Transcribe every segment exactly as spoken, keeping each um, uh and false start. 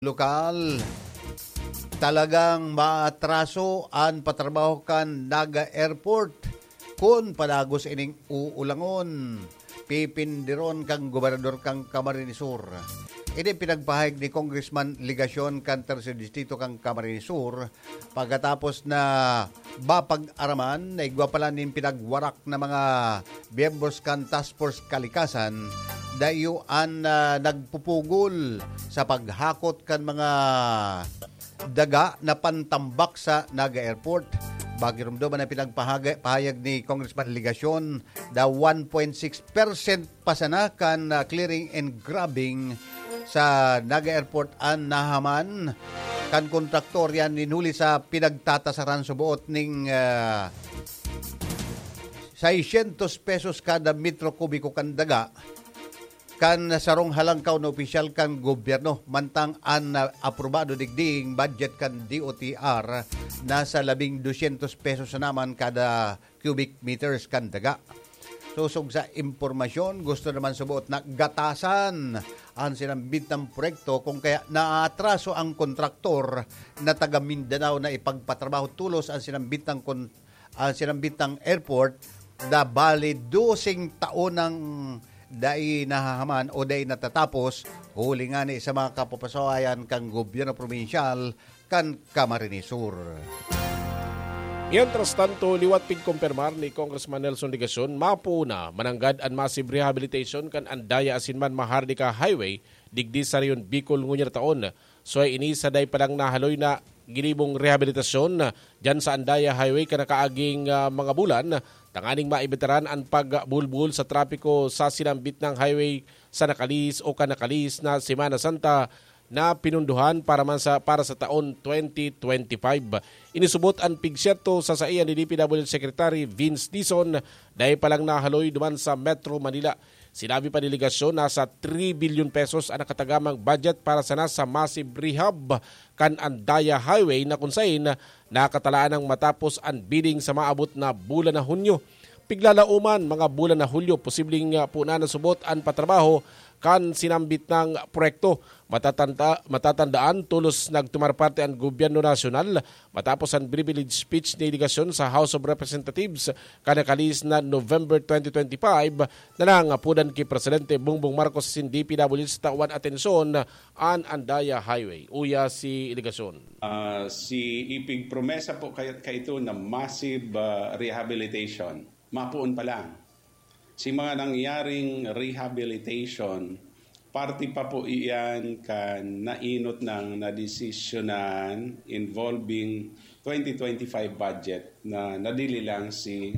lokal, talagang maatraso an patrabaho kan Naga Airport kun padagos ining uulangon. Pipindiron kan gobernador kan Camarines Sur. Ini pinagpahayag ni Congressman Legacion kan Tercer Distrito kan Camarines Sur pagkatapos na mapag-araman na igwa pala nin pinagwarak na mga miyembros kan Task Force Kalikasan, dayo an, ah, nagpupugol sa paghakot kan mga daga na pantambak sa Naga Airport. Bagirumdom na pinagpahayag ni Congressman Legacion na one point six percent pa sana kan, ah, clearing and grabbing sa Naga Airport an nahaman kan kontraktor yan nin huli sa pinagtatasaran suboot ning, ah, seiscientos pesos kada metro kubiko kan daga kan sarong halangkaw na opisyal kan gobyerno, mantang an, ah, aprobado digding budget kan D O T R nasa labing dosyentos pesos na naman kada cubic meters kan daga. Sosog sa impormasyon, gusto naman suboot na gatasan an sinambit na proyekto, kung kaya naatraso ang kontraktor na taga Mindanao na ipagpatrabaho tolos an sinambit na kon-, an sinambit na airport na bali doseng taon nang dai nahahaman o dai natatapos, huli ngani sa mga kapapasawayan kan gobyerno probinsyal kan Camarines Sur. Mientras tanto, liwat pigkumpirmar ni Congressman Nelson Legacion, mapoon na mananggad an massive rehabilitation kan Andaya asin man Maharlika Highway digdi sa Rehiyon Bicol ngunyan na taon. Suway ini sa dai pa lang nahaloy na ginibong rehabilitasyon diyan sa Andaya Highway kan nakaaging, ah, mga bulan, tanganing maibitaran an pagbulbul sa trapiko sa sinambit na highway sa nakalihis o kan nakalihis na Semana Santa na pinundohan para man sa, para sa taon twenty twenty-five. Inisubot an pigsiyerto sa saiya ni D P W Secretary Vince Dizon, dai pa lang nahaloy duman sa Metro Manila. Sinabi pa ni Legacion, nasa three billion pesos an nakatagamang budget para sana sa massive rehab kan Andaya Highway na kun sain nakatalaan nang matapos an bidding sa maabot na bulan na Hunyo. Piglalauman, mga bulan na Hulyo, posibleng, ah, puna na subot an patrabaho kan sinambit na proyekto. Matatanda-, matatandaan, tolos nagtumar parte an gobyerno nasyonal matapos an privilege speech ni Legacion sa House of Representatives kan nakalihis na November twenty twenty-five na nangapodan ki Presidente Bongbong Marcos asin D P W sa tawan atensyon an Andaya Highway. Uya si Legacion. Ah, si ipigpromesa po kay, kaito na massive, ah, rehabilitation. Mapoon pa lang. Si mga nangyaring rehabilitation, parte pa po iyan kan nainot ng nadesisyonan involving twenty twenty-five budget na nadili lang si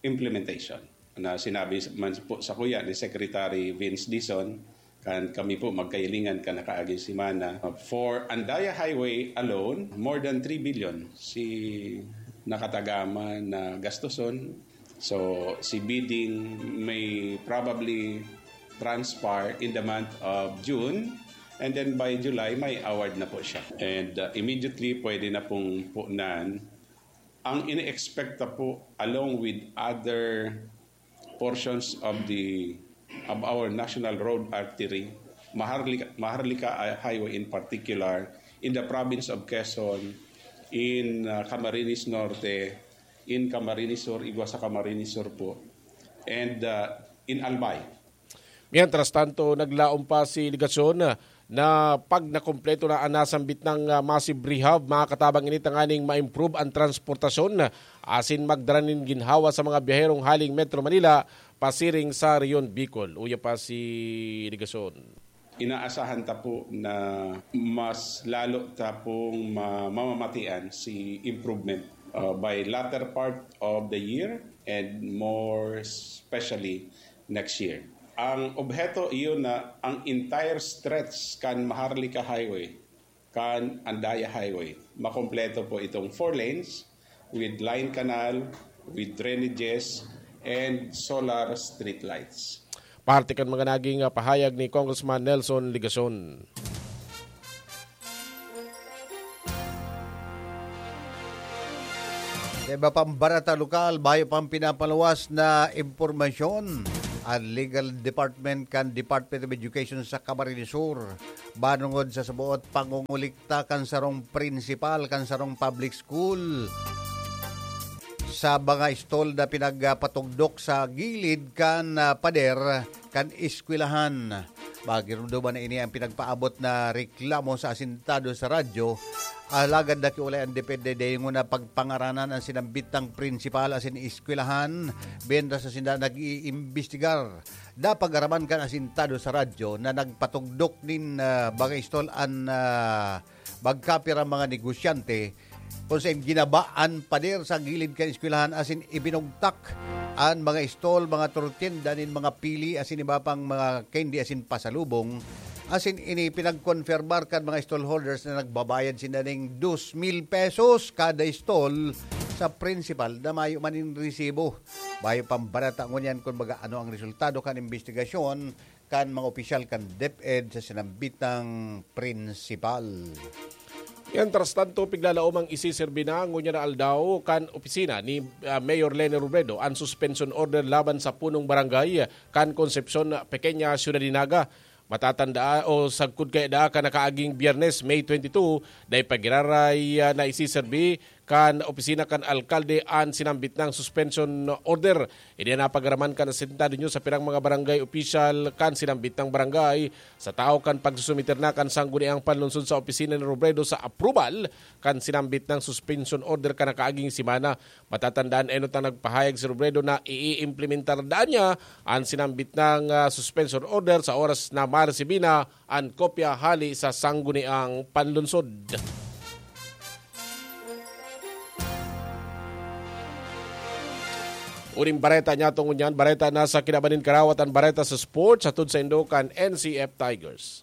implementation. Na sinabi man po sa kuya ni Secretary Vince Dizon, kan kami po magkahilingan kan nakaaging semana. For Andaya Highway alone, more than three billion si nakatagama na gastuson. So, si bidding may probably transpire in the month of June, and then by July, may award na po siya. And, uh, immediately, pwede na pong punan. Ang ini-expect na po, along with other portions of the, of our national road artery, Maharlika, Maharlika Highway in particular, in the province of Quezon, in, uh, Camarines Norte, in Camarines Sur, igwa sa Camarines Sur po, and, uh, in Albay. Mientras tanto, naglaom pa si Legacion na pag nakumpleto na an nasambit na, ah, massive rehab, makakatabang ini tanganing ma-improve an transportasyon asin magdara nin ginhawa sa mga biyaherong haling Metro Manila pasiring sa Rehiyon Bicol. Uya pa si Legacion. Inaasahan ta po na mas lalo ta pong ma-, mamamatian si improvement, uh, by latter part of the year and more especially next year. Ang obheto iyo na ang entire stretch kan Maharlika Highway, kan Andaya Highway, makompleto po itong four lanes with line canal, with drainages, and solar street lights. Parte kan mga naging, ah, pahayag ni Congressman Nelson Legacion. Sa iba pang barata lokal, bayo pang pinapaluwas na impormasyon, an legal department kan Department of Education sa Camarines Sur, banungod sa saboot pangungulikta kan sarong principal kan sarong public school sa mga stall na pinagpatugdok sa gilid kan, ah, pader kan eskwelahan. Magirumduman na ini ang pinagpaabot na reklamo sa asintado sa radyo. Alagad nakiulay an DepEd na dayon na pagpangaranan ang sinambitang principal asin eskwelahan, mientras na sinda nag-iimbestigar. Napag-araman kan asintado sa radyo na nagpatugdok nin, ah, mga stall an, ah, magkapirang mga negosyante, kung saen ginaba an pader sa gilid kan eskwelahan asin ibinugtak an mga stall, mga tortienda nin mga pili asin iba pang mga candy asin pasalubong. Asin ini pinagkonfirmar kan mga stall holders na nagbabayad sinda ning dos mil pesos kada stall sa principal na mayo man nin resibo. Mayo pang bareta ngunyan kun baga ano ang resultado kan imbestigasyon kan mga opisyal kan DepEd sa sinambitang principal. Mientras tanto, piglalaom ang isiserbi na ngunyan na aldaw kan opisina ni, ah, Mayor Leni Robredo an suspension order laban sa punong barangay kan Concepcion, Pequeña Ciudad de Naga. Matatanda o sagkod kaya daa kan nakaaging Biyernes, May twenty-two, dai pa giraray, ah, na isiserbi kan opisina kan alkalde an sinambit nang suspension order. Ini an napagaraman kan asintado nyo sa pirang mga barangay opisyal kan sinambit nang barangay sa tao kan pagsusumiter na kan sangguniang panlunsod sa opisina ni Robredo sa approval kan sinambit nang suspension order kan nakaaging semana. Matatandaan enot ang nagpahayag si Robredo na iimplementar daan niya an sinambit nang, ah, suspension order sa oras na maresibi na an kopya hali sa sangguniang panlunsod. Uning bareta niya tungod niyan, bareta na sa kinaban nin karawat an bareta sa sports, hatod sa indo kan N C F Tigers.